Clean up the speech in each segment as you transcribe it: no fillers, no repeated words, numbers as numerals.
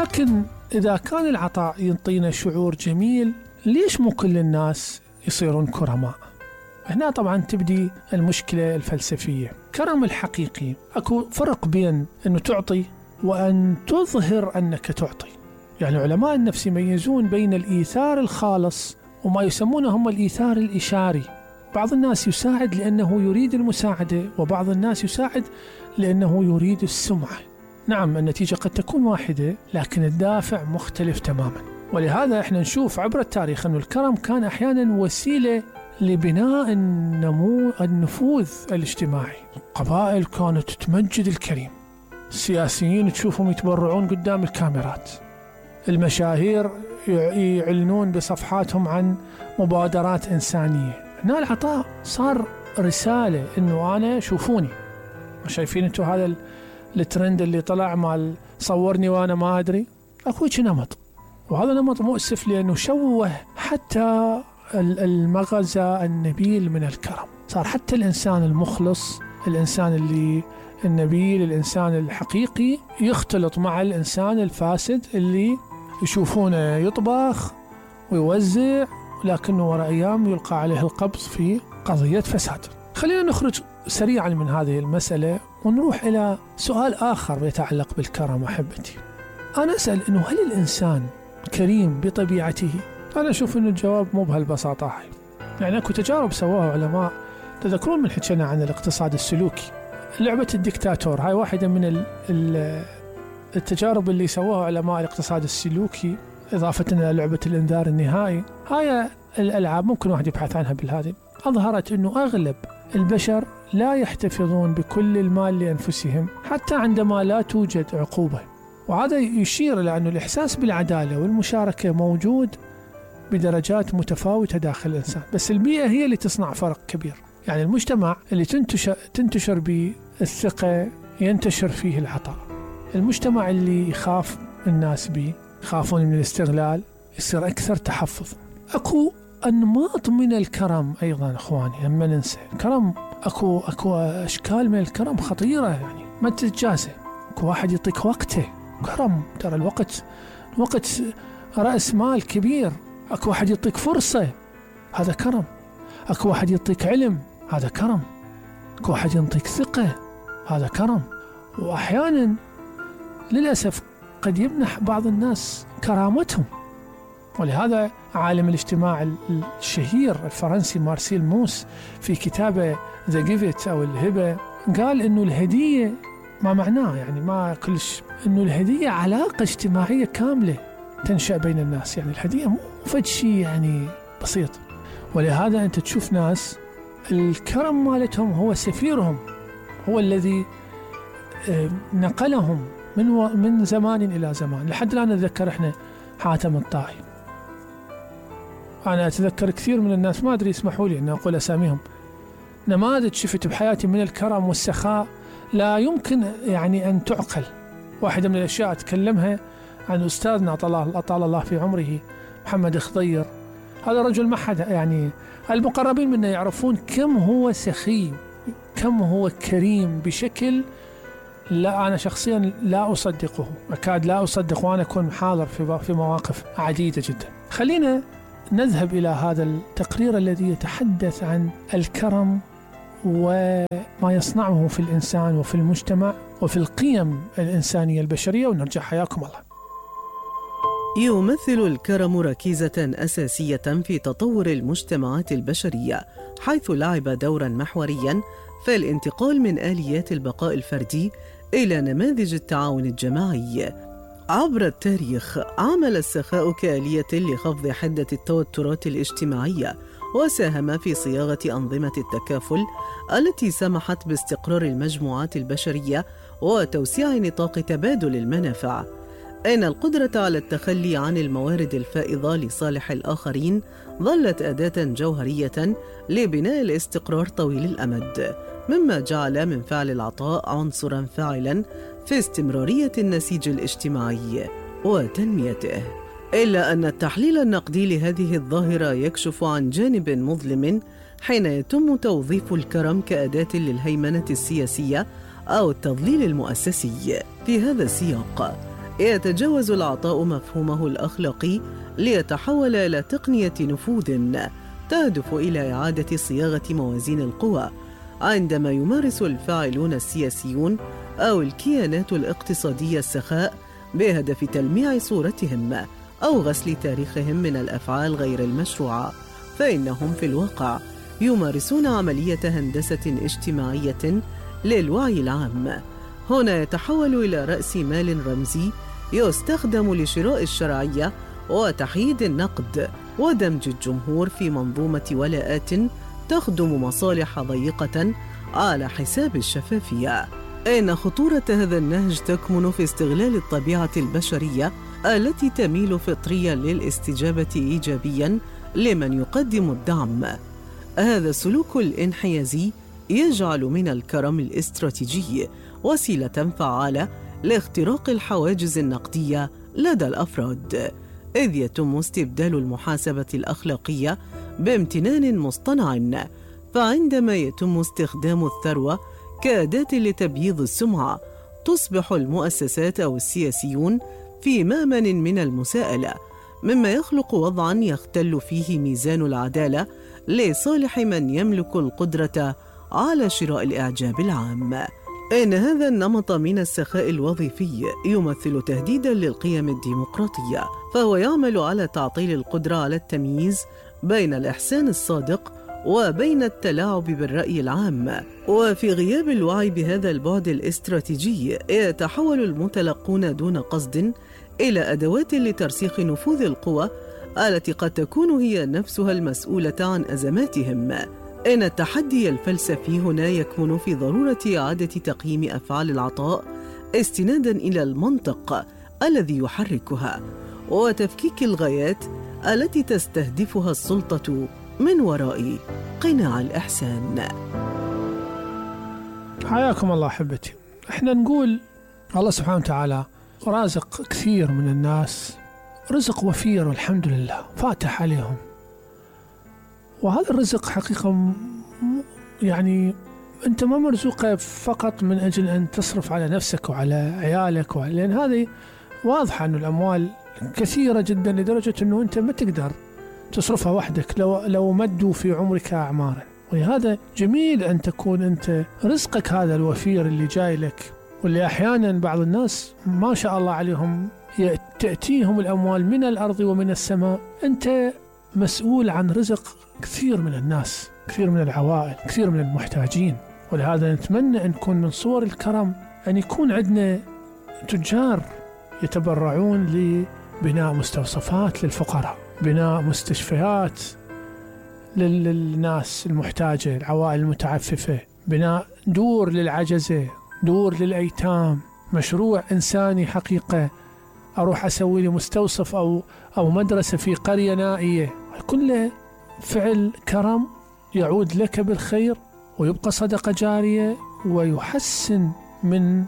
لكن إذا كان العطاء ينطينا شعور جميل، ليش مو كل الناس يصيرون كرماء؟ هنا طبعا تبدي المشكلة الفلسفية. كرم الحقيقي أكو فرق بين أنه تعطي وأن تظهر أنك تعطي. يعني علماء النفس يميزون بين الإيثار الخالص وما يسمونه هم الإيثار الإشاري. بعض الناس يساعد لأنه يريد المساعدة، وبعض الناس يساعد لأنه يريد السمعة. نعم، النتيجة قد تكون واحدة لكن الدافع مختلف تماما. ولهذا احنا نشوف عبر التاريخ أن الكرم كان أحيانا وسيلة لبناء النفوذ الاجتماعي. القبائل كانت تمجد الكريم، السياسيين تشوفهم يتبرعون قدام الكاميرات، المشاهير يعلنون بصفحاتهم عن مبادرات إنسانية. هنا العطاء صار رسالة إنه أنا شوفوني. شايفين أنتوا هذا الترند اللي طلع مال صورني وأنا ما أدري؟ أكوش نمط، وهذا نمط مؤسف لأنه شوه حتى المغزى النبيل من الكرم. صار حتى الإنسان المخلص، الإنسان اللي النبيل، الإنسان الحقيقي يختلط مع الإنسان الفاسد اللي يشوفونه يطبخ ويوزع، لكنه وراء أيام يلقى عليه القبض في قضية فساد. خلينا نخرج سريعا من هذه المسألة ونروح إلى سؤال آخر يتعلق بالكرم. أحبتي، أنا أسأل إنه هل الإنسان كريم بطبيعته؟ أنا أشوف إنه الجواب مو بهالبساطة هاي. يعني أكو تجارب سواها علماء، تذكرون من حكينا عن الاقتصاد السلوكي، لعبة الدكتاتور، هاي واحدة من التجارب اللي سواها علماء الاقتصاد السلوكي، إضافة إلى لعبة الإنذار النهائي. هاي الألعاب ممكن واحد يبحث عنها بالهذه. أظهرت إنه أغلب البشر لا يحتفظون بكل المال لأنفسهم حتى عندما لا توجد عقوبة، وهذا يشير إلى أن الإحساس بالعدالة والمشاركة موجود بدرجات متفاوتة داخل الإنسان، بس البيئة هي اللي تصنع فرق كبير. يعني المجتمع اللي تنتشر به الثقة ينتشر فيه العطاء. المجتمع اللي يخاف الناس به، يخافون من الاستغلال، يصير أكثر تحفظ. أكو أنماط من الكرم أيضا أخواني، لما ننسى الكرم أكو أشكال من الكرم خطيرة، يعني ما تتجازى. أكو واحد يعطيك وقته، كرم. ترى الوقت رأس مال كبير. أكو واحد يعطيك فرصة، هذا كرم. أكو واحد يعطيك علم، هذا كرم. أكو واحد يعطيك ثقة، هذا كرم. وأحيانا للأسف قد يمنح بعض الناس كرامتهم. ولهذا عالم الاجتماع الشهير الفرنسي مارسيل موس في كتابه The Gift أو الهبة قال إنه الهدية ما معناه، يعني ما كلش، إنه الهدية علاقة اجتماعية كاملة تنشأ بين الناس. يعني الهدية مو فد شيء يعني بسيط. ولهذا أنت تشوف ناس الكرم مالتهم هو سفيرهم، هو الذي نقلهم من زمان إلى زمان. لحد الآن نتذكر إحنا حاتم الطائي. أنا أتذكر كثير من الناس، ما أدري اسمحوا لي أن أقول أساميهم، نماذج شفت بحياتي من الكرم والسخاء لا يمكن يعني أن تعقل. واحدة من الأشياء أتكلمها عن أستاذنا أطال الله في عمره محمد خضير. هذا رجل ما حد، يعني المقربين منا يعرفون كم هو سخي، كم هو كريم بشكل لا أنا شخصيا لا أصدقه، أكاد لا أصدق، وأنا أكون حاضر في مواقف عديدة جدا. خلينا نذهب إلى هذا التقرير الذي يتحدث عن الكرم وما يصنعه في الإنسان وفي المجتمع وفي القيم الإنسانية البشرية، ونرجع. حياكم الله. يمثل الكرم ركيزة أساسية في تطور المجتمعات البشرية، حيث لعب دورا محوريا في الانتقال من آليات البقاء الفردي إلى نماذج التعاون الجماعي. عبر التاريخ عمل السخاء كآلية لخفض حدة التوترات الاجتماعية، وساهم في صياغة أنظمة التكافل التي سمحت باستقرار المجموعات البشرية وتوسيع نطاق تبادل المنافع. إن القدرة على التخلي عن الموارد الفائضة لصالح الآخرين ظلت أداة جوهرية لبناء الاستقرار طويل الأمد، مما جعل من فعل العطاء عنصراً فاعلاً في استمرارية النسيج الاجتماعي وتنميته. إلا أن التحليل النقدي لهذه الظاهرة يكشف عن جانب مظلم حين يتم توظيف الكرم كأداة للهيمنة السياسية أو التضليل المؤسسي. في هذا السياق يتجاوز العطاء مفهومه الأخلاقي ليتحول إلى تقنية نفوذ تهدف إلى إعادة صياغة موازين القوى، عندما يمارس الفاعلون السياسيون أو الكيانات الاقتصادية السخاء بهدف تلميع صورتهم أو غسل تاريخهم من الأفعال غير المشروعة، فإنهم في الواقع يمارسون عملية هندسة اجتماعية للوعي العام. هنا يتحول إلى رأس مال رمزي يستخدم لشراء الشرعية وتحييد النقد ودمج الجمهور في منظومة ولاءات تخدم مصالح ضيقة على حساب الشفافية. إن خطورة هذا النهج تكمن في استغلال الطبيعة البشرية التي تميل فطريا للاستجابة إيجابيا لمن يقدم الدعم. هذا السلوك الانحيازي يجعل من الكرم الاستراتيجي وسيلة فعالة لاختراق الحواجز النقدية لدى الأفراد، إذ يتم استبدال المحاسبة الأخلاقية بامتنان مصطنع. فعندما يتم استخدام الثروة كأداة لتبييض السمعة، تصبح المؤسسات أو السياسيون في مأمن من المساءلة، مما يخلق وضعاً يختل فيه ميزان العدالة لصالح من يملك القدرة على شراء الإعجاب العام. إن هذا النمط من السخاء الوظيفي يمثل تهديداً للقيم الديمقراطية، فهو يعمل على تعطيل القدرة على التمييز بين الإحسان الصادق وبين التلاعب بالرأي العام. وفي غياب الوعي بهذا البعد الاستراتيجي، يتحول المتلقون دون قصد إلى أدوات لترسيخ نفوذ القوى التي قد تكون هي نفسها المسؤولة عن أزماتهم. إن التحدي الفلسفي هنا يكمن في ضرورة إعادة تقييم أفعال العطاء استناداً إلى المنطق الذي يحركها، وتفكيك الغايات التي تستهدفها السلطة من وراء قناع الإحسان. حياكم الله أحبتي. احنا نقول الله سبحانه وتعالى رازق كثير من الناس رزق وفير والحمد لله فاتح عليهم، وهذا الرزق حقيقة يعني أنت ما مرزوقة فقط من أجل أن تصرف على نفسك وعلى عيالك لأن هذه واضحة أن الأموال كثيرة جدا لدرجة أنه أنت ما تقدر تصرفها وحدك لو مدوا في عمرك أعمارا. ولهذا جميل أن تكون أنت رزقك هذا الوفير اللي جاي لك، واللي أحيانا بعض الناس ما شاء الله عليهم تأتيهم الأموال من الأرض ومن السماء. أنت مسؤول عن رزق كثير من الناس، كثير من العوائل، كثير من المحتاجين. ولهذا نتمنى أن نكون من صور الكرم أن يكون عندنا تجار يتبرعون لبناء مستوصفات للفقراء، بناء مستشفيات للناس المحتاجة، العوائل المتعففة، بناء دور للعجزة، دور للأيتام، مشروع إنساني حقيقة. أروح أسوي لي مستوصف أو مدرسة في قرية نائية، كله فعل كرم يعود لك بالخير ويبقى صدقة جارية ويحسن من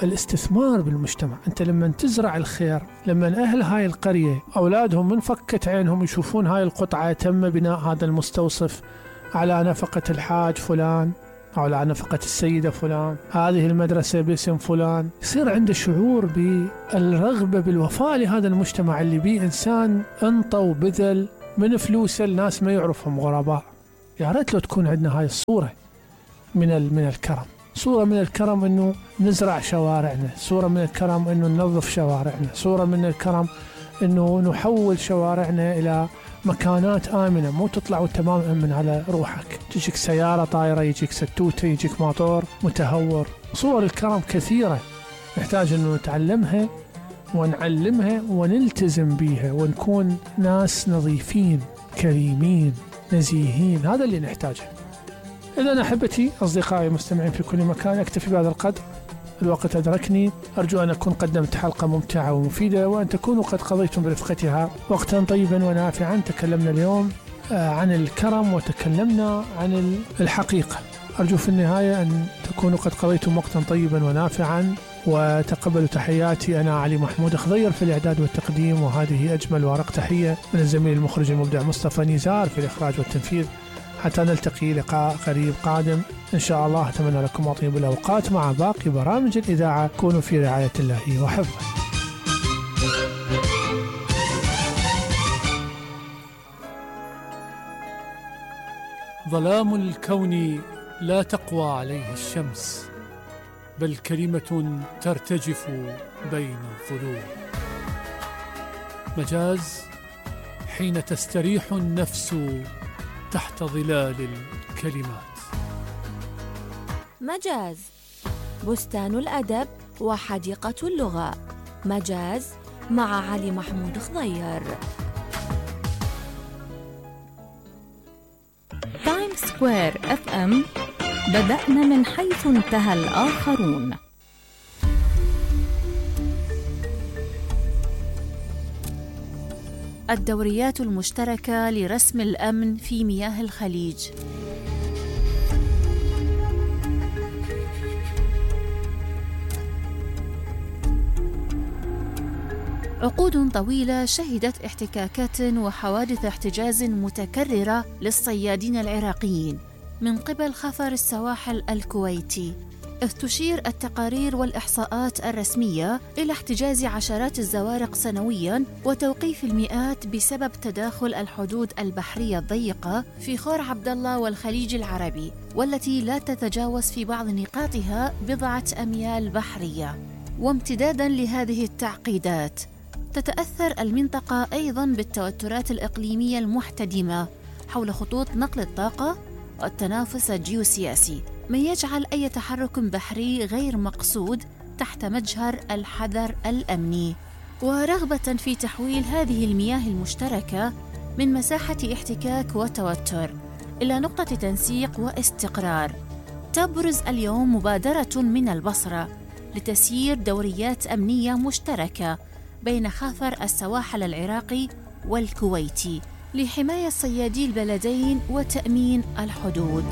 الاستثمار بالمجتمع. أنت لما تزرع الخير، لما أهل هاي القرية أولادهم من فكت عينهم يشوفون هاي القطعة تم بناء هذا المستوصف على نفقة الحاج فلان أو على نفقة السيدة فلان، هذه المدرسة باسم فلان، يصير عنده شعور بالرغبة بالوفاء لهذا المجتمع اللي بيه إنسان انطى وبذل من فلوسه الناس ما يعرفهم غرباء. يا ريت لو تكون عندنا هاي الصورة من الكرم، صورة من الكرم إنه نزرع شوارعنا، صورة من الكرم إنه ننظف شوارعنا، صورة من الكرم إنه نحول شوارعنا إلى مكانات آمنة، مو تطلع وانت ما مأمن على روحك، تجيك سيارة طايرة، يجيك ستوتة، يجيك موتور متهور. صور الكرم كثيرة نحتاج أنه نتعلمها ونعلمها ونلتزم بيها ونكون ناس نظيفين كريمين نزيهين، هذا اللي نحتاجه. إذا أحبتي أصدقائي المستمعين في كل مكان، أكتفي بهذا القدر، الوقت أدركني. أرجو أن أكون قدمت حلقة ممتعة ومفيدة، وأن تكونوا قد قضيتم برفقتها وقتا طيبا ونافعا. تكلمنا اليوم عن الكرم وتكلمنا عن الحقيقة. أرجو في النهاية أن تكونوا قد قضيتم وقتا طيبا ونافعا، وتقبلوا تحياتي. أنا علي محمود خضير في الإعداد والتقديم، وهذه أجمل وأرق تحية من الزميل المخرج المبدع مصطفى نزار في الإخراج والتنفيذ. حتى نلتقي لقاء قريب قادم إن شاء الله. أتمنى لكم أطيب الأوقات مع باقي برامج الإذاعة. كونوا في رعاية الله وحفظه. ظلام الكون لا تقوى عليه الشمس، بل كلمة ترتجف بين الظلوم. مجاز حين تستريح النفس تحت ظلال الكلمات. مجاز بستان الأدب وحديقة اللغة. مجاز مع علي محمود خضير. تايم سكوير اف ام، بدأنا من حيث انتهى الآخرون. الدوريات المشتركة لرسم الأمن في مياه الخليج. عقود طويلة شهدت احتكاكات وحوادث احتجاز متكررة للصيادين العراقيين من قبل خفر السواحل الكويتي، إذ تشير التقارير والإحصاءات الرسمية إلى احتجاز عشرات الزوارق سنوياً وتوقيف المئات بسبب تداخل الحدود البحرية الضيقة في خور عبد الله والخليج العربي، والتي لا تتجاوز في بعض نقاطها بضعة أميال بحرية. وامتداداً لهذه التعقيدات تتأثر المنطقة أيضاً بالتوترات الإقليمية المحتدمة حول خطوط نقل الطاقة والتنافس الجيوسياسي، ما يجعل أي تحرك بحري غير مقصود تحت مجهر الحذر الأمني. ورغبة في تحويل هذه المياه المشتركة من مساحة احتكاك وتوتر إلى نقطة تنسيق واستقرار، تبرز اليوم مبادرة من البصرة لتسيير دوريات أمنية مشتركة بين خافر السواحل العراقي والكويتي لحماية صيادي البلدين وتأمين الحدود.